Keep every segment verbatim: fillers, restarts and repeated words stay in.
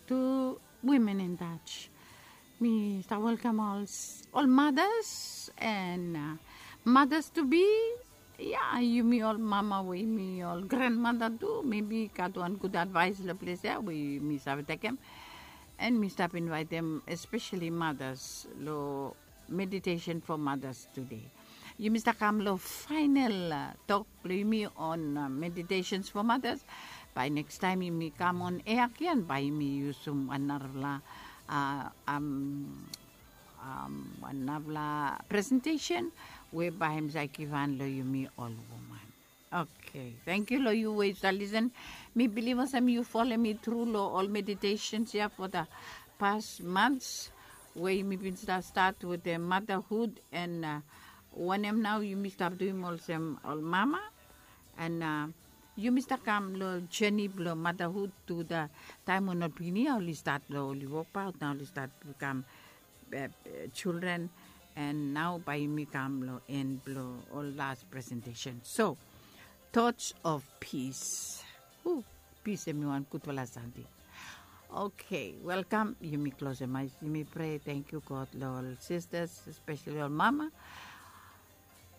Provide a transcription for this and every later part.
To Women in Touch. Mi stap welkam ol, ol mothers and uh, mothers to be. Ya, yumi ol mama we yumi ol grandmother tu, maybe gat wan gud advice lo ples ya we yumi save tekem. And mi stap invaitem especially mothers lo meditation for mothers today. Yumi stap kam lo final uh, tok blo yumi on uh, meditations for mothers. Bae nekis taem yumi kam on air agen bae yumi yusum wan narafala uh, um, um, wan narafala presentation we bae hem save givhan lo yumi ol woman. Okay, thank you lo yu we yu stap lisen. Mi bilif olsem yu folem mi tru lo ol meditations ya for the past months we yumi bin stap stat with the motherhood and uh, wanem nao yumi stap duim olsem ol mama. And uh, yumi stap kam lo journey blo motherhood to the taem we ol pikinini ya oli stat lo oli wokbaot, nao oli stat bikam uh, children. And nao bae yumi kam lo en blo ol las presentation. So, thoughts of peace. Pis hemi wan gudfala samting. Okay, welkam. Yumi klosem ae, yumi prea. Tangkiu God lo ol sisters, especially ol mama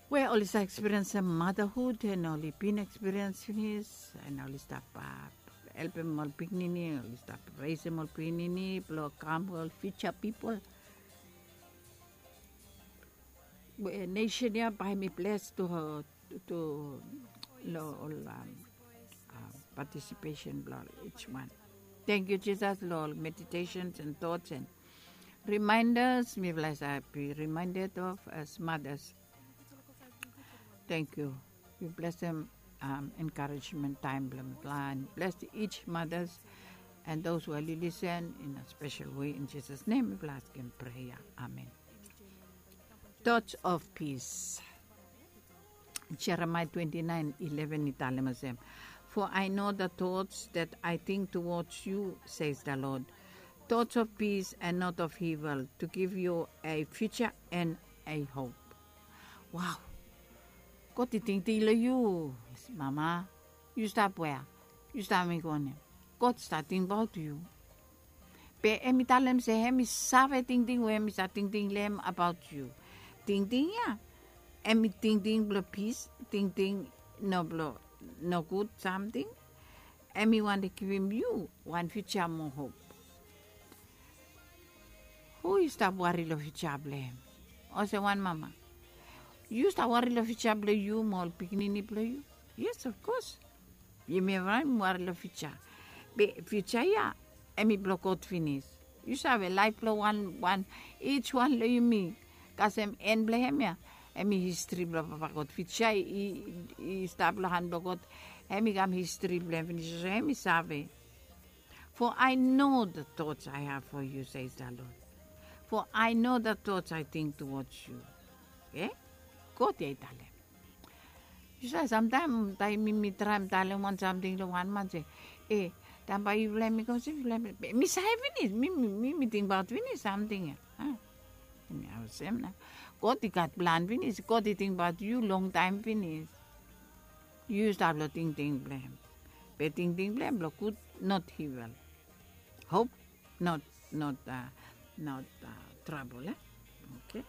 we oli save ekspiriensem motherhood and oli bin ekspiriens finis and oli stap uh, helpem ol pikinini, oli stap resem ol pikinini blo kam ol future people. We nesen ya bae hemi bles tu, tu lo ol um, uh, participation blo each one. Thank you Jesus lo ol meditations and thoughts and reminders. Mifala save be reminded of as mothers. Thank you. We bless them um, encouragement time blo mifala and bless each mothers and those who are listen in a special way. In Jesus' name mifala askem prayer. Amen. Thoughts of peace. Jeremiah twenty-nine eleven i talem olsem, "For I know the thoughts that I think towards you, says the Lord, thoughts of peace and not of evil, to give you a future and a hope." Wow. God i tingting lo yu, mama. Yu stap wea? Yu stap mekem wanem? God i stap tingbaot yu. Be hemi talem se hemi save tingting we hemi stap tingting lo hem abaot yu. Tingting ya hemi tingting blo pis, tingting no blo nogud samting. Hemi wantem givim yu wan future mo hop. Hu i stap wari lo future blo hem? Olsem wan mama, yu stap wari lo future blo yu mo ol pikinini blo yu? Yes, of course. Yumi evriwan wari lo future. Be future ya hemi blo God finis. Yu save laef blo wan wan, each wan lo yumi kasem en blo hem ya. Hemi history blo Papa God. Future i, i stap lo han blo God. Hemi kam history blo hem finis. So hemi save. "For I know the thoughts I have for you, says the Lord. For I know the thoughts I think towards you." Okay? God ya i talem. Yu save, samtaem taem mi, mi traem talem wan samting lo wan man se, e, taem bae yufala hemi go se yufala, mi save finis, mi, mi, mi, mi tingbaot finis samting ya. Hemi olsem nao. God i gat plan finis, God i tingbaot yu longtaem finis. Yu stap lo tingting blo hem. Be tingting blo hem blo gud, not evil. Hope, not, not, uh, not uh, trouble, eh? Okay.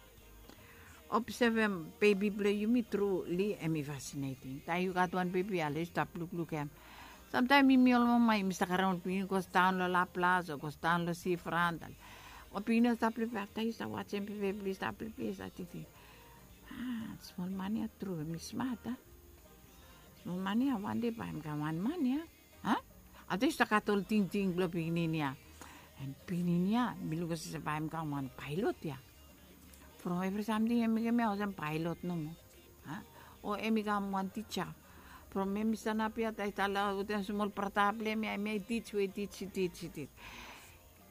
Obsevem bebi blo yumi truli hemi fascinating. Taem yu gat wan bebi, ale yu stap lukluk hem. Samtaem yumi ol mama yumi stap karem ol pikinini go daon lo Laplas o go daon lo sifrant. Ol pikinini oli stap pleplei, afta yu stap wajem bebi oli stap pleplei, yu stap tingting, a, smol man ya tru hemi smat, a? Smol man ya, wan dei bae hem kam wan man ya. A? Afta yu stap gat ol tingting blo pikinini ya. An pikinini ya mi luk olsem bae hem kam wan paelot ya. From evri samting hemi mekem ya olsem paelot nomo. A? O hemi kam wan tija. From hemi sanap ya, taem i stap lo wetem smol brata blo hem ya, hemia i tij we i tij, i tij, i tij.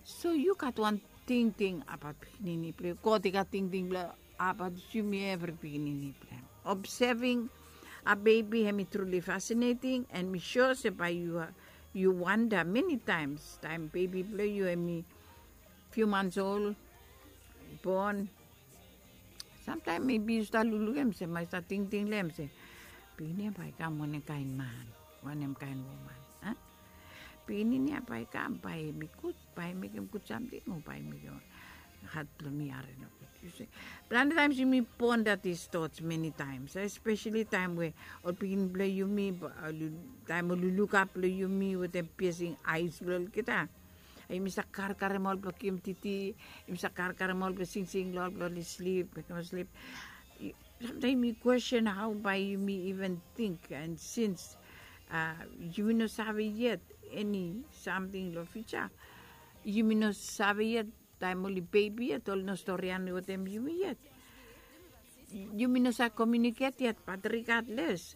So yu gat wan tingting abaot pikinini blo yu. God i gat tingting blo abaot yumi evri pikinini blo hem. Obsevem a bebi hemi truli fascinating, an mi sua se bae yu, yu wanda many times taem bebi blo yu hemi few months old, i bon. Samtaem maybe yu stap luklukem se, bae yu stap tingting lo hem se, pikinini ya bae i kam wanem kaen man, wanem kaen woman, a? pikinini ya bae i kam, bae i mekem gud, bae i mekem gud samting o bae i mekem hat blong mi i harim nogud. Yu se, planti taems yumi ponder these thoughts many times, especially taem we ol pikinini blong yumi, taem ol lulugap blong yumi wetem piercing eyes blong olgeta. Yumi save karkarem ol blong givim titi, yumi save karkarem ol blong singsing long ol blong oli slip, mekem ol slip. Samtaem yumi kwestin hao bae yumi even ting, and since yumi no save yet eni samting long fiuja, yumi no save yet taem oli bebi yet, oli no storian wetem yumi yet. Yumi no save komiuniket yet, bat regardless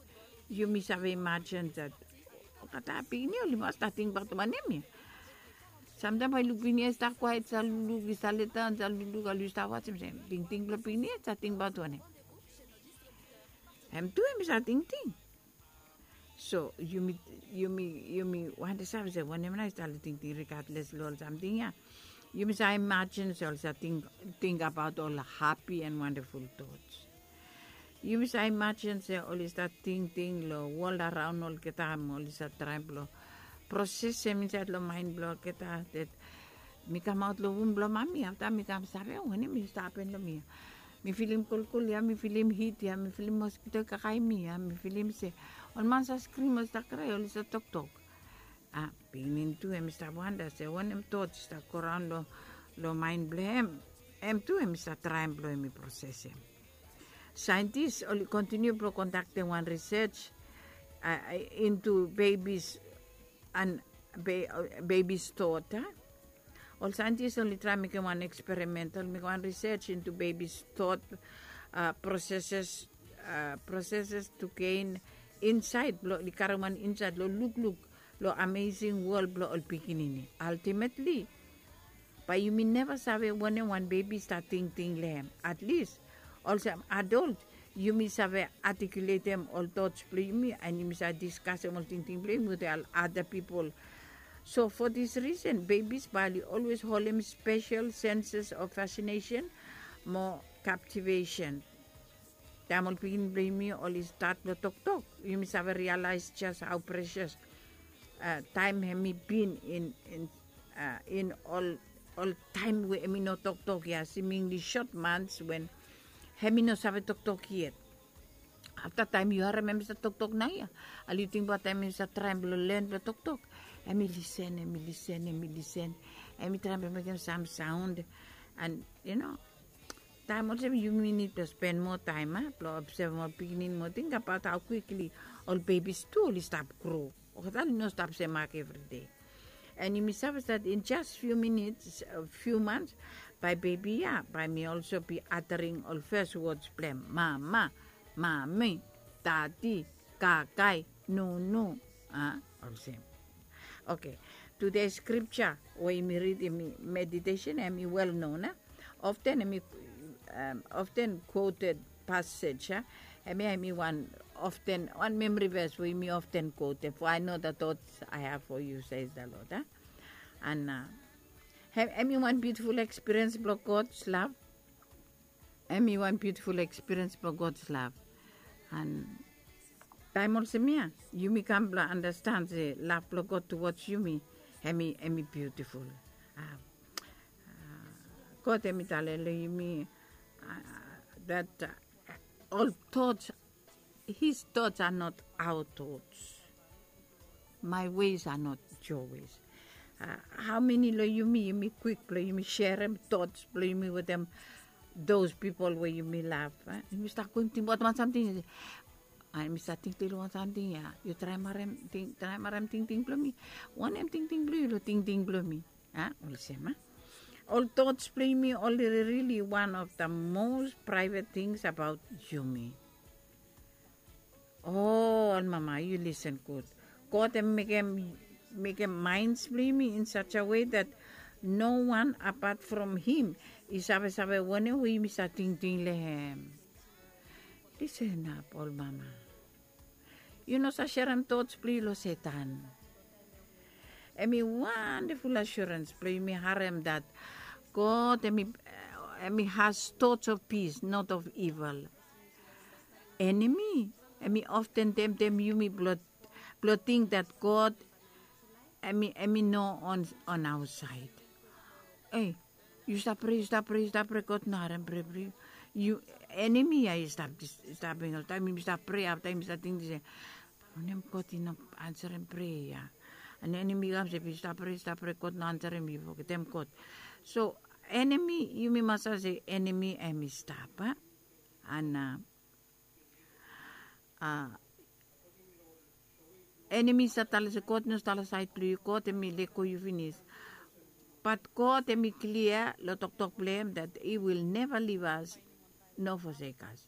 yumi save imajin dat olgeta pikinini oli mas stap tingbaot wanem ya. Samtaem bae yu luk pikinini ya i stap kwaet, i stap luluk, i stap letdaon, i stap luluk, oli stap wajem se tingting blong pikinini ya i stap tingbaot wanem. Hem tu hem i stap tingting. So yumi, yumi, yumi wantem save se wanem nao i stap long tingting regardless long ol samting ya. Yumi save imajin se oli save ting, tingbaot ol hapi and wonderful thoughts. Yumi save imajin se oli stap tingting long wol araon olgeta, mo oli save traem blong prosesem insaed long maen blong olgeta, that mi kamaot long wom blong mami, afta mi kam save wanem i stap hapen long mi ya. Mi filim kolkol ya, mi filim hit ya, mi filim moskito i kakae mi ya, mi filim se ol man save skrim, oli save krae, oli save toktok. A pikinini tu hem i stap wanda se wanem thoughts i stap goraon long, long maen blong hem. Hem tu hem i stap traem blong hem i prosesem. Saentis oli kontiniu blong kondaktem wan research into babies and babies thought. Ol saentis oli traem mekem wan experiment, oli mekem wan research into babies thought processes, processes to gain insight, blong oli karem wan insight long lukluk long amazing world blong ol pikinini. Ultimately bae yumi neva save wanem wan bebi i stap tingting long hem. At least olsem adult yumi save artikuletem ol thoughts blong yumi, and yumi save diskasem ol tingting blong yumi wetem ol other people. So for this reason babies bae oli always holem special senses of fascination mo captivation. Taem ol pikinini blong yumi oli stat blong toktok, yumi save realize just how precious taem hem i bin in, in, in ol, ol taem we hem i no toktok ya, seemingly short months when hem i no save toktok yet. Afta taem yu harem hem i save toktok naoia, oli yu tingbaot taem hem i save traem blong len blong toktok, hem i lisen, hem i lisen, hem i lisen, hem i traem blong mekem sam saon, and you know, taem olsem yumi nid blong spen moa taem blong obsevem ol pikinini moa, tingbaot hao kwikli ol bebis tu oli stap gro. Olgeta oli no stap semak evri dei. And yumi save stat in just few minutes, few months, bae bebi ya bae hem i olso be uttering ol fes wods blong hem, mama, mami, dadi, kakae, nunu. A olsem. Okay. Today scripture we yumi ridim, meditesen, hem i well known, a? Often hem i, often quoted passage, a? Hemia hem i wan often, wan memory verse we yumi often quote, for I know the thoughts I have for you, says the Lord, a? And hem i wan beautiful experience blong God's love. Hem i wan beautiful experience blong God's love. And taem olsem ia yumi kam blong understand se love blong God towards yumi, hem i, hem i beautiful. God hem i talem long yumi that ol thoughts, his thoughts are not our thoughts. My ways are not your ways. Hao meni long yumi, yumi kwik blong yumi serem thoughts blong yumi wetem those people we yumi love? Yumi stap go yumi tingbaot wan samting, yumi stap tingting long wan samting ia, yu traem harem, traem harem tingting blong mi. Wanem tingting blong yu long tingting blong mi? A olsem, a? Ol thoughts blong yumi oli really one of the most private things about yumi. O ol mama, yu lisen gud. God hem mekem, mekem minds blong yumi in such a way that no one apart from him i savesave wanem we yumi save tingting long hem. Lisen ap ol mama. Yu no save serem thoughts blong yu long Satan. Hem i wonderful assurance blong yumi harem that God hem i, hem i has thoughts of peace, not of evil. Enemy hem i often temtem yumi blong, blong ting that God Em i em i no on on our side. Ei, yu stap prea, yu stap prea, yu stap prea, God no harem prea blo yu. Yu enemi ya i stap staping oltaem yumi stap prea afta yumi stap tingting se, wanem God i no ansarem prea ya? An enemi i kam se yu stap prea, yu stap prea, God no ansarem, yu fogetem God. So enemi, yumi mas save se enemi em i stap a an a enemi i save talem se God i no stap long saed blong yu, God em i lego yu finis. Bat God em i klia long toktok blong em that he will never leave us nor forsake us.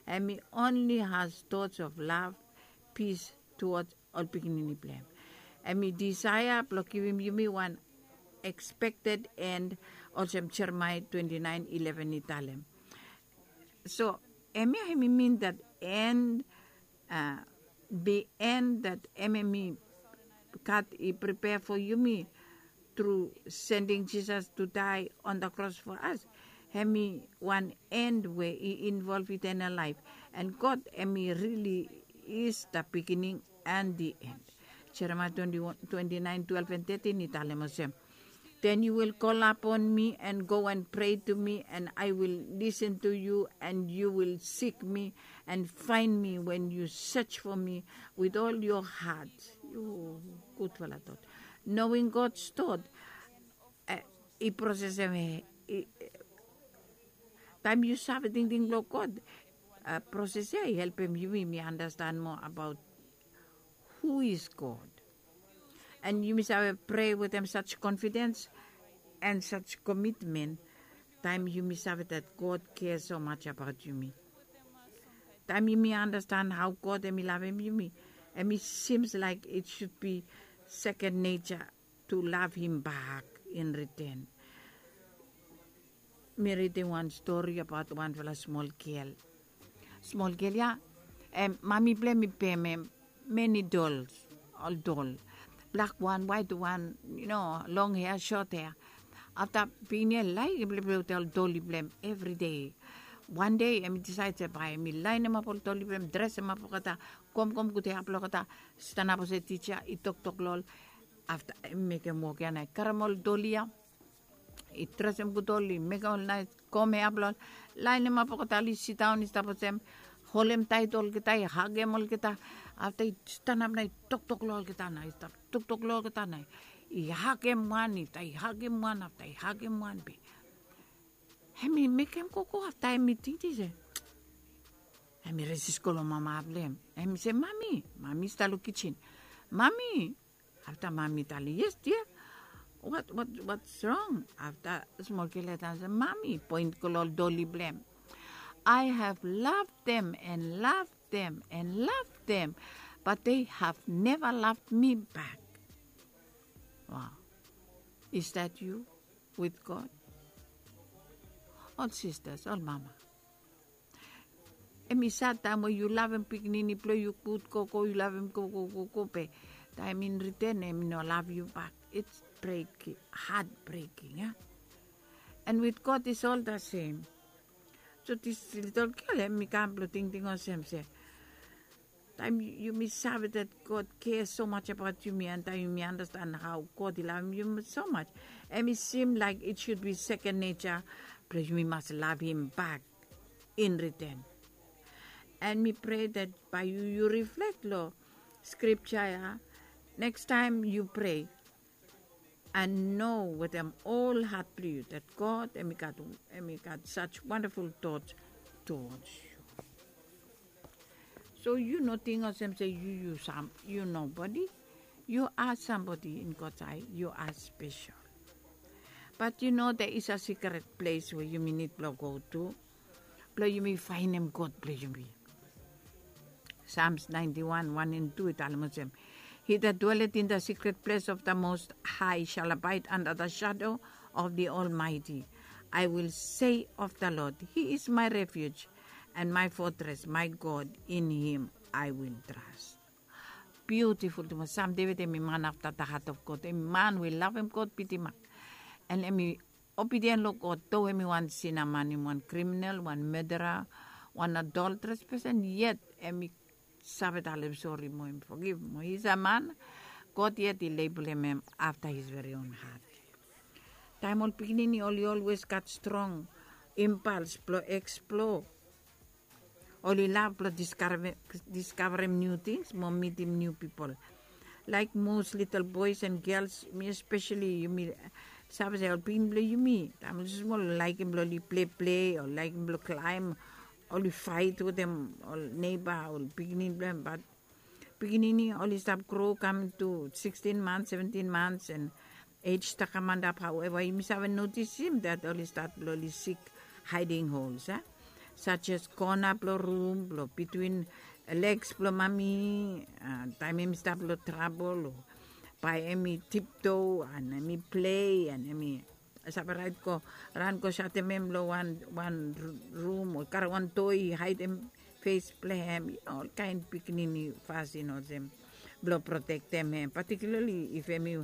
Em i only has thoughts of love, peace towards ol pikinini blong em. Em i disaea blong givim yumi wan expected end, olsem Jeremaia twenty nine eleven i talem. So em ya em i min that end, uh, the end that em em i God i prepare for yumi through sending Jesus to die on the cross for us. Em i wan end we i involve eternal life. And God em i really is the beginning and the end. Jeremiah twenty-one, twenty-nine, twelve and thirteen i talem olsem, then you will call upon me and go and pray to me, and I will listen to you, and you will seek me and find me when you search for me with all your heart. Yu gudfala tot. Knowing God's thought, eh, i proses em, eh, i, taem yu save tingting blong God, eh, proses ya i helpem yumi mi understand more about who is God. And yumi save prea wetem such confidence and such commitment. Taem yumi save that God care so much about yumi. Taem yumi understand how God em i lavem yumi, em i seems like it should be second nature to love him back in return. Mi ridim wan stori abaot wanfala smol gel. Smol gel ya, em, mami blong em i pem em many dolls, ol dol. Blak wan, waet wan, you know, long hea, sot hea. Afta pikinini ya i laekem pleplei wetem ol doli blong em evri dei. Wan dei em i disaed se bae em i laenemap ol doli blong em, dresemap olgeta, gomgom gud hea blong olgeta, stanap olsem tija, i toktok long ol. Afta em i mekem wok ya nao i karem ol doli ya, i dresem gud ol, i mekem ol naes gom hea blong ol, laenemap olgeta, oli sidaon i stap olsem, holem taet olgeta, i hagem olgeta. Afta i stanap nao i toktok long olgeta nao, i stap toktok long olgeta nao, i hagem wan, i stap hagem wan, afta i hagem wan be em i mekem gogo. Afta em i tingting se em i resis go long mama blong em. Em i se, mami, mami i stap long kijin. Mami, afta mami talem, yes dia. What, what, what's wrong? Afta smol gel ya talem se, mami, poen go long ol doli blong em. I have loved them and loved them and loved them, but they have never loved me back. Wow. Is that you with God? Ol sistas, ol mama, em i sad taem we yu lavem pikinini blong yu gud gogo, yu lavem gogo gogo be taem in return em i no lav yu bak. It's breaking, heartbreaking, a? And with God is all the same. So this little girl em i kam blong tingting olsem se taem yumi save that God care so much about yumi, and taem yumi understand how God i lavem yumi so much, em i seem like it should be second nature blong yumi mas lav him bak in return. And mi prea that bae yu, yu reflect long scripture ya, next time yu prea, and know wetem ol hat blong yu that God em i gat, em i gat such wonderful thoughts towards you. So yu no ting olsem se yu, yu sam, yu nobody. You are somebody in God's eye. You are special. But you know there is a secret place we yumi nid blong go tu blong yumi faenem God blong yumi. Psalms ninety-one, one and two i talem olsem, he that dwelleth in the secret place of the Most High shall abide under the shadow of the Almighty. I will say of the Lord, he is my refuge and my fortress, my God, in him I will trust. Beautiful tumas. Sam David em i man afta the heart of God. Em i man we i lavem God bitimak. And em i obedient long God, though em i wan sina man, em i wan criminal, wan murderer, wan adulterous person, yet em i save talem sori mo em forgive mo. He's a man God yet i labelem hem after his very own heart. Taem ol pikinini oli always gat strong impulse blong explore. Oli lav blong diskavarem niu tings mo mitim niu pipol. Laik most little boys and girls, mi especially, yumi save se ol pikinini blong yumi, taem oli smol, oli laikim blong oli pleple, oli laikim blong klaem, oli faet wetem ol neiba, ol pikinini blong hem. Bat pikinini oli stap gro kam tu sixteen months, seventeen months, and age stap kam antap. However, yumi save notisim that oli stat blong oli sik hiding holes, a, such as kona blong rum, blong between legs blong mami, taem hemi stap long trabol, o bae hemi tiptoe and hemi plei and hemi save raet go, ran go satem hem long wan rum, o karem wan toi haedem fes blong hem. Olkaen pikinini fasin olsem blong protektem hem, particularly if hemi,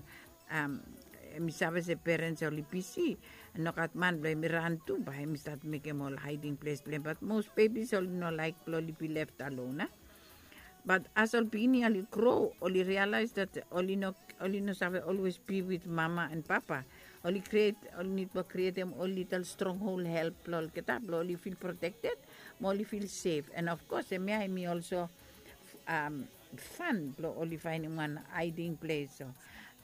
hemi save se perens oli bisi, nogat man blong hemi ran tu, bae hemi stat mekem ol hiding ples blong hem. Bat most bebis oli no laek blong oli be left alone, a. Bat as ol pikinini oli gro, oli realaes that oli no, oli no save always be with mama and papa. Oli kriet, oli nid blong krietem ol little stronghold hel blong olgeta blong oli fil protekted mo oli fil sef. And of course, hemia hemi also fan blong oli faenem wan hiding ples. So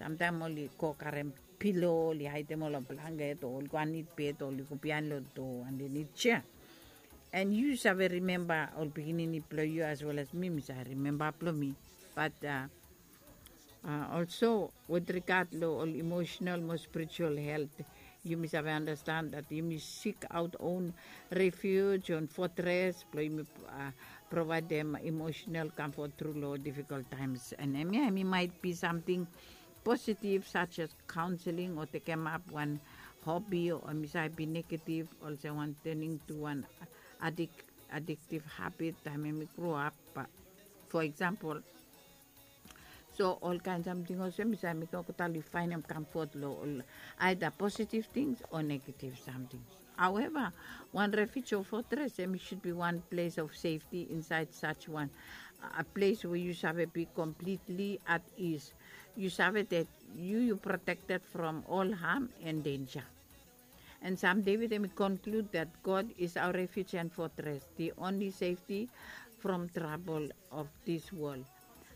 samtaem oli go karem pilo, oli haedem ol long blanket, o oli go andenid bed, o oli go biaen long doa andenid sea. And yu save rimemba ol pikinini blong yu as well as mi, mi save rimemba blong mi. Bat also with regard long ol emotional mo spiritual health, yumi save understand that yumi sik aot own refuge, own fortress blong yumi provaedem emotional comfort tru long difficult times. And hemia hemi might be samting positive, such as counseling o tekemap wan hobby, o hemi save be negative, olsem wan turning to wan addictive habit taem hemi grow up, for example. So olkaen samting olsem i save mekem olgeta oli faenem comfort long ol either positive things o negative samting. However, wan refuge o fortress hemi should be wan ples of safety insaed such wan, a ples we yu save be completely at ease. Yu save that yu, yu protected from all harm and danger. And Sam David hemi conclude that God is our refuge and fortress, the only safety from trouble of this world.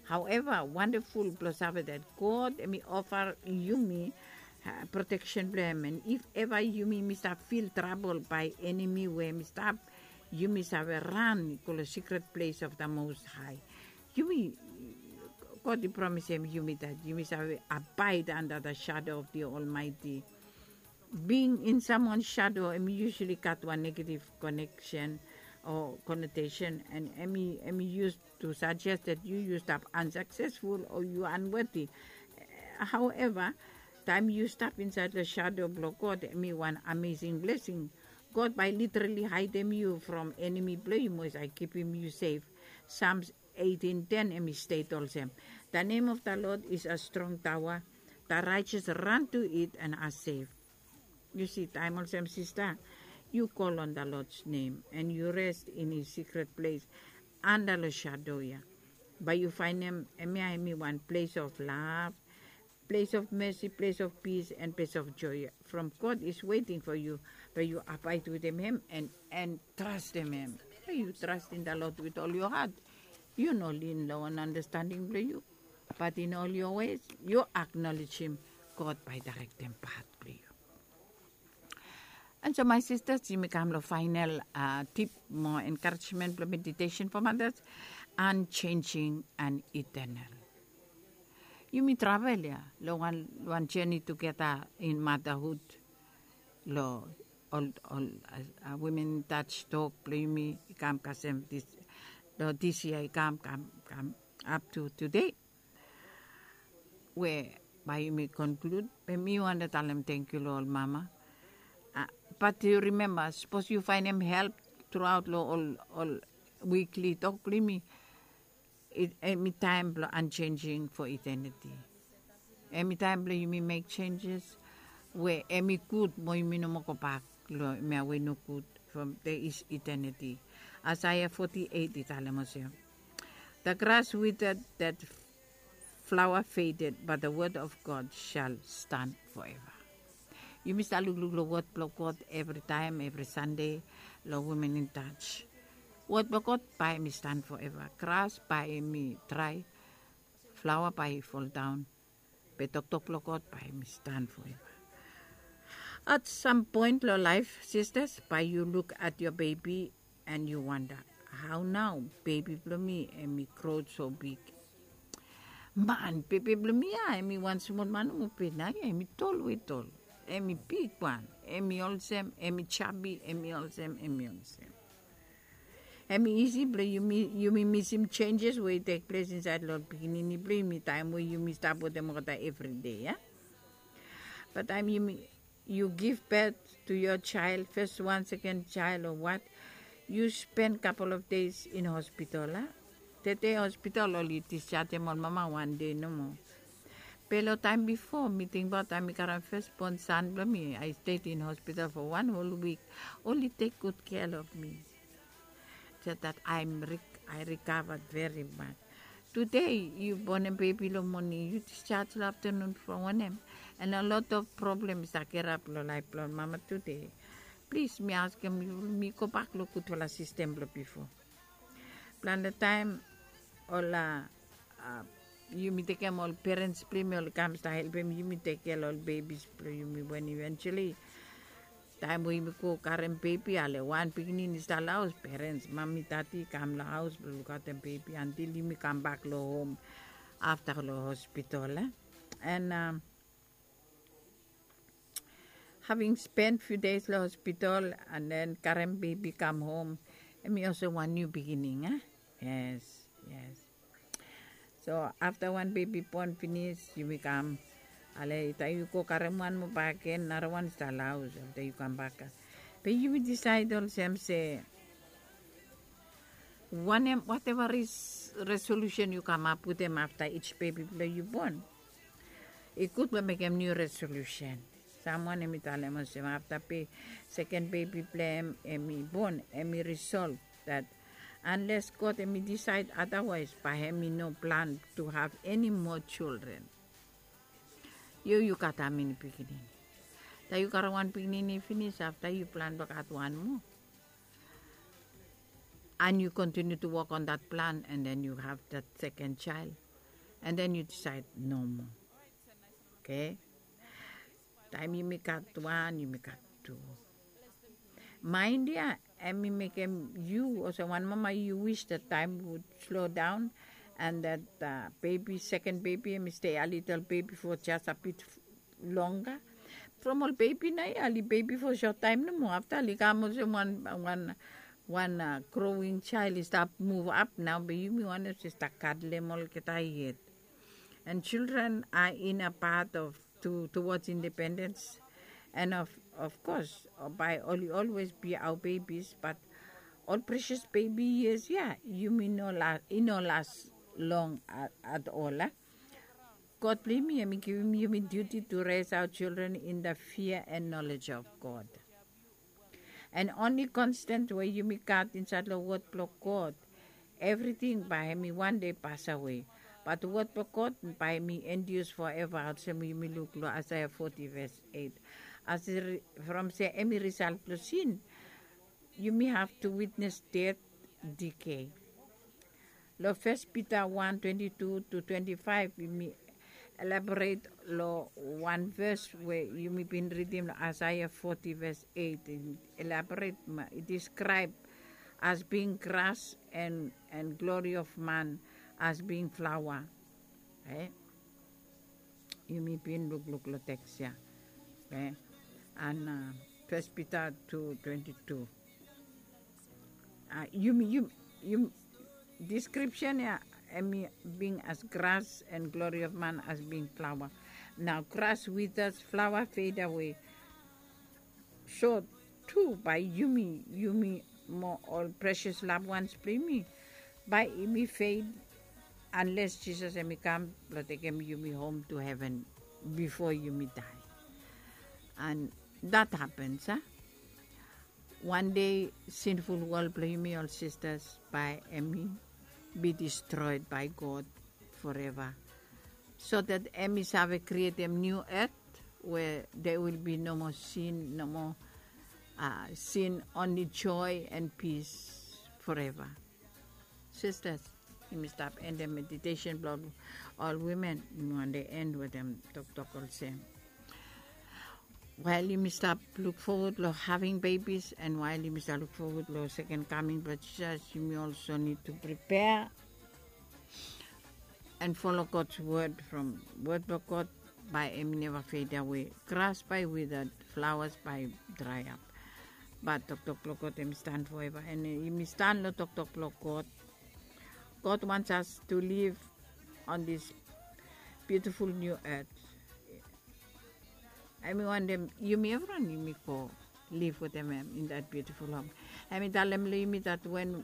However, wonderful blong save that God hemi offer yumi protection blong hem. And if ever yumi mi stap fil trouble by enemy we hemi stap, yumi save ran go long secret place of the Most High. Yumi, God i promisem yumi that yumi save abide under the shadow of the Almighty. Being in someone shadow hemi usually gat wan negative connection o connotation, and hemi, hemi use to suggest that yu, yu stap unsuccessful o yu unworthy. However, taem yu stap insaed long shadow blong God, hemi wan amazing blessing. God bae literally haedem yu from enemy blong yu, mo i save kipim yu sef. Psalms eighteen ten hemi state olsem, "The name of the Lord is a strong tower, the righteous run to it and are safe." Yu si, taem olsem, sista, yu call on the Lord's name and yu rest in his secret place, under long shadow ia, bae yu faenem hemia hemi wan place of love, place of mercy, place of peace, and place of joy from God is waiting for you. Bae yu abide wetem hem and, and trustem hem. Bae yu trust in the Lord with all your heart. Yu no lean long wan understanding blong yu, but in all your ways yu acknowledge him. God bae i directem path blong yu. And so my sisters, yumi kam long final tip mo encouragement blong meditation for mothers, unchanging and eternal. Yumi travel ia long wan, wan journey together in motherhood. Long ol, ol women touch tok blong yumi i kam kasem dis, long dis yia i kam, kam, kam up to today. We bae yumi conclude, be mi wantem talem tangkiu long ol mama. But yu remember, sapos yu faenem help throughout long ol, ol weekly tok blong yumi, hemi taem blong unchanging for eternity. Hemi taem blong yumi make changes we hemi gud mo yumi no moa gobak long hemia we i no gud from there is eternity. Isaiah forty-eight i talem olsem, "The grass withered that flower faded, but the word of God shall stand forever. Yumi stap lukluk long word blong God evri taem, evri Sande, long Women in Touch. Word blong God bae hemi stand forever. Gras bae hemi drae, flower bae i foldaon, be toktok blong God bae hemi stand forever. At some point long laef, sisters, bae yu luk at your baby and yu wanda, hao nao bebi blong mi hemi gro so big. Man, bebi blong mi ya hemi wan smol man nomo, be naoia hemi tol we tol, hemi bigwan, hemi olsem, hemi chubby, hemi olsem, hemi olsem. Hemi isi blong yumi, yumi misim changes we i tek ples insaed long ol pikinini blong yumi taem we yumi stap wetem olgeta evri dei, ya. Be taem yumi, yu give birth to your child, first one, second child o what, yu spen couple of days in hospital, a? Tede hospital oli disjajem ol mama wan dei nomo. Be long taem bifo, mi tingbaot taem mi karem first born son blong mi, I stayed in hospital for one whole week. Oli tek gud kea of mi. So that I recovered very much. Tude yu bonem bebi long moning, yu disjaj long aftenun from wanem? And a lot of problem i stap gerap long laef blong mama tude. Plis, mi askem yu, mi gobak long gudfala sistem blong bifo. Plante taem ol a, yumi tekem ol perens blong yumi oli kam stap helpem yumi tek kea long ol bebis blong yumi, wen eventually taem we yumi go karem bebi, ale wan pikinini i stap long haos, perens, mami, dadi i kam long haos blong lukaotem bebi antil yumi kambak long hom afta long hospital, e. And having spent few days long hospital and then karem bebi kam hom, hemi olsem wan niu beginning, a? Yes, yes. So afta wan bebi bon finis, yumi kam, ale taem yu go karem wan moa bakegen, narawan i stap long haos afta yu kambak. Be yumi disaed olsem se wanem, whatever is resolution yu kamap wetem afta each bebi blong yu bon, i gud blong mekem niu resolution. Samwan hemi talem olsem afta be seken bebi blong hem hemi bon, hemi resolve that unless God hemi disaed otherwise, bae hemi no plan to have any more children. Yu, yu gat how many pikinini? Taem yu karem wan pikinini finis, afta yu plan blong gat wan moa. And you continue to work on that plan, and then you have that second child, and then you decide no more. Okay? Taem yumi gat wan, yumi gat tu. Mind ya, hemi mekem yu olsem wan mama, you wish that time would slow down and that baby, second baby, hemi stay a little baby for just a bit longer. From ol bebi naoia, oli bebi for short taem nomo. Afta oli kam olsem wan, wan, wan growing child, i stap move up nao, be yumi wantem se stap kadlem olgeta yet. And children are in a path of to, towards independence. And of, of course, bae oli always be our babies, but ol precious baby years ya, yumi no las, i no las long at, at all, a? God blong yumi, hemi givim yumi duty to raise our children in the fear and knowledge of God. And only constant we yumi gat insaed long word blong God, evriting bae hemi wan dei pasawe. But word blong God bae hemi endures forever, olsem we yumi luk long Isaiah forty verse eight. As from se hemi result blong sin, yumi have to witness death, decay. Long First Peter one twenty-two to twenty-five, yumi elaborate long wan verse we yumi bin ridim long Isaiah forty verse eight. Elaborate, i describe as being grass and, and glory of man as being flower. Yumi bin lukluk long teks ya. And First Peter two twenty-two. Yumi, yumi, description ya, hemi being as grass and glory of man as being flower. Nao grass withers, flower fade away. So tu bae yumi, yumi mo ol precious loved ones blong yumi, bae yumi fade unless Jisas hemi kam blong tekem yumi hom to heven bifo yumi dae. And that happens, a? Wan dei sinful wol blong yumi, ol sistas, bae hemi be destroyed by God forever. So that em i save krietem niu et we there will be no more sin, no more uh, sin, only joy and peace forever. Sisters, yumi stap endem meditation blong ol women. Yumi wande end wetem toktok olsem, wael yumi stap luk forward long having babies and wael yumi stap luk forward long second coming blong Jisas, yumi also need to prepare and follow God's word from word blong God. Bae em i neva fade away. Gras bae withered, flowers bae dry up, bat toktok blong God em i stan forever. And yumi stan long toktok blong God. God wants us to live on this beautiful new earth. Em i wantem yumi evriwan yumi go live wetem em in that beautiful home. Em i talem long yumi that when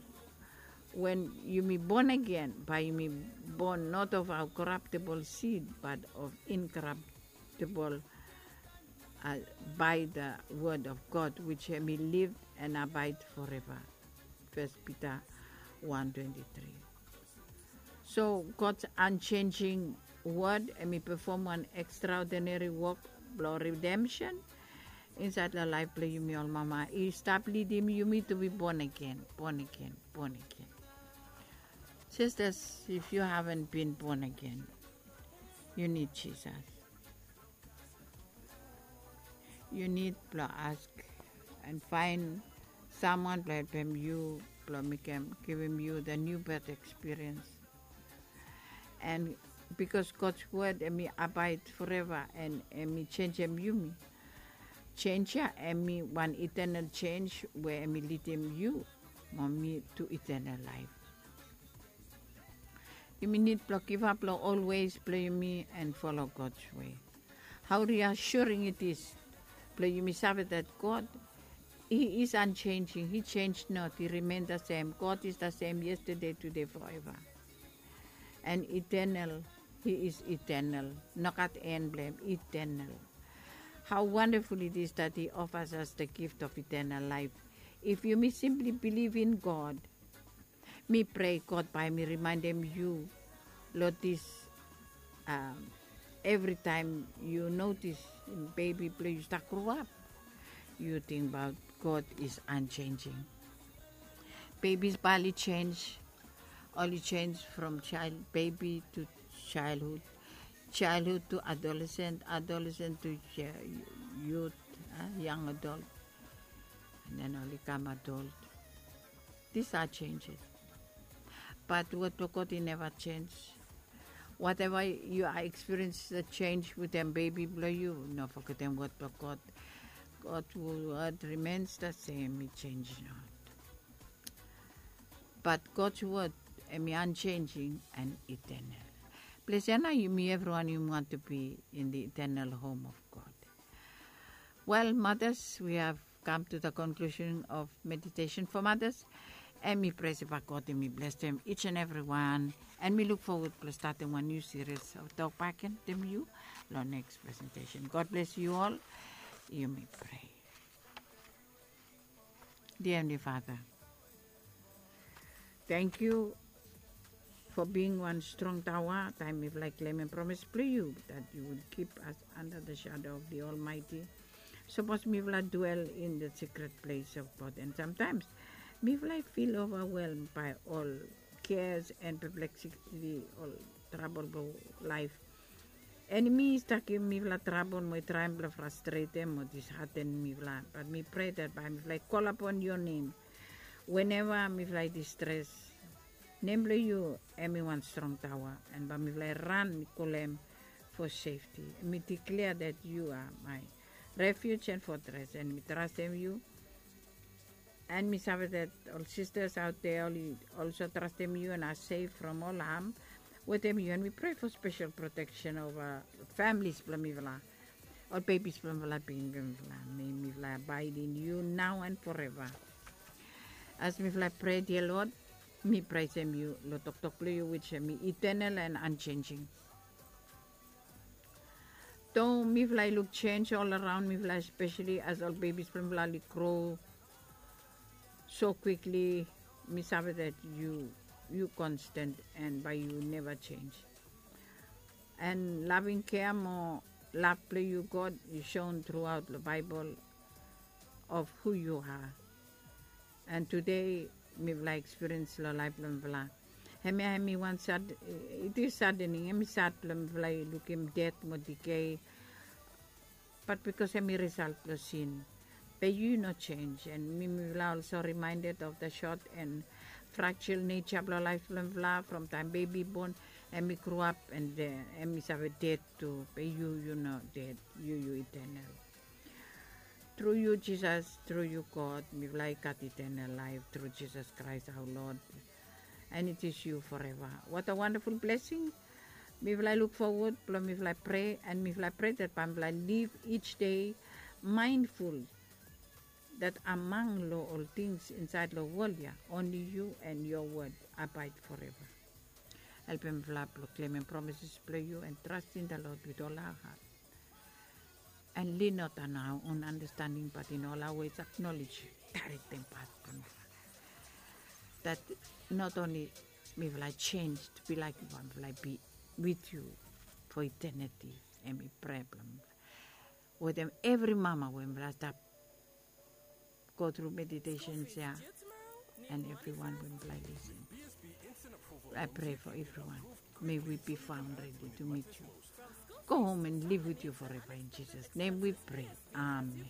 when yumi born again, bae yumi born not of our corruptible seed but of incorruptible, uh, by the word of God, which em i live and abide forever. First Peter one twenty-three. So God's unchanging word em i perform wan extraordinary work blong redemption inside long laef blong yumi ol mama. I stap lidim yumi to be born again, born again, born again. Sisters, if you haven't been born again, you need Jesus. You need blong ask and find someone blong helpem yu blong mekem givim yu the new birth experience. And because God's word em i abide forever and em i changem yumi, change ya em i wan eternal change we em i lidim yu mo mi to eternal life. Yumi need blong givap long ol ways blong yumi and follow God's way. How reassuring it is blong yumi save that God, he is unchanging, he change not, he remain the same. God is the same yesterday, today, forever. And eternal, he is eternal. Nogat en blong em, eternal. How wonderful it is that he offers us the gift of eternal life. If yumi simply believe in God, mi prea God bae mi rimaendem yu long this, um, evritaem yu notis bebi blong yu stap groap, yu tingbaot God is unchanging. Babies bae oli change, oli change from child, baby to childhood, childhood to adolescent, adolescent to youth, uh, young adult, and then oli kam adult. These are changes. But word blong God i neva change. Whatever you are experience the change wetem bebi blong yu, no fogetem word blong God. God word remains the same, i change not. But God's word em i unchanging and eternal. Ples ya nao yumi evriwan yumi want to be in the eternal home of God. Well, mothers, we have come to the conclusion of meditation for mothers. And mi prea se bae God i mi blesem each and everyone. And mi luk forward blong statem wan niu series of Tok Bakegen wetem yu long next presentation. God bless you all. Yumi prea. Dear Heavenly Father, thank you for being wan strong taoa taem mifala i klemem promis blong yu that you would keep us under the shadow of the Almighty. Sapos mifala dwell in the secret place of God, and sometimes mifala i feel overwhelmed by all cares and perplexity, ol trabol blong laef. Enemi i stap givim mifala trabol mo i traem blong frastretem mo dishaten mifala. Bat mi prea that bae mifala i call upon your name whenever mifala i distress. Nem blong yu em i wan strong taoa, and bae mifala i ran, mi kolem for safety. Mi declare that you are my refuge and fortress, and mi trastem yu. And mi save that ol sisters out there oli also trastem yu and are safe from all harm wetem yu. And mi prea for special protection ova families blong mifala, ol bebis blong mifala, pikinini blong mifala. May mifala abide in you now and forever. As mifala prea, dear Lord, mi praisem yu long toktok blong yu, which em i eternal and unchanging. Though mifala i luk change all around mifala, especially as ol bebis blong mifala oli grow so quickly, mi save that you, you constant and bae yu neva change. And loving care mo love blong yu God is shown throughout the Bible of who you are. And today mifala experience lo laif blong mifala. Hemia hemi wan sad, it is saddening, hemi sad blong mifala i lukim death mo decay. But because hemi result blong sin, be yu no change. And mi mifala also reminded of the short and fragile nature blong laif blong mifala from taem baby born, hemi grow up and hemi save dead tu. Be yu yu no dead, yu yu eternal. Tru yu Jisas, tru yu God, mifala i gat eternal life through Jesus Christ our Lord. And it is you forever. What a wonderful blessing. Mifala i look forward blong mifala i pray, and mifala i pray that bae mifala i live each day mindful that among lo ol things inside lo world ya, only you and your word abide forever. Helpem mifala blong claimem promises blong yu and trusting the Lord with all our heart. And lean not on our own understanding, but in all our ways acknowledge you. Direct them path blong mifala. That not only mifala change to be like you, but mifala be with you for eternity. Hemi prayer blong mifala. Wetem evri mama we mifala stap go through meditations ya, and everyone we mifala listen. I pray for everyone. May we be found ready to meet you. Go home and live with you forever. In Jesus' name we pray. Amen.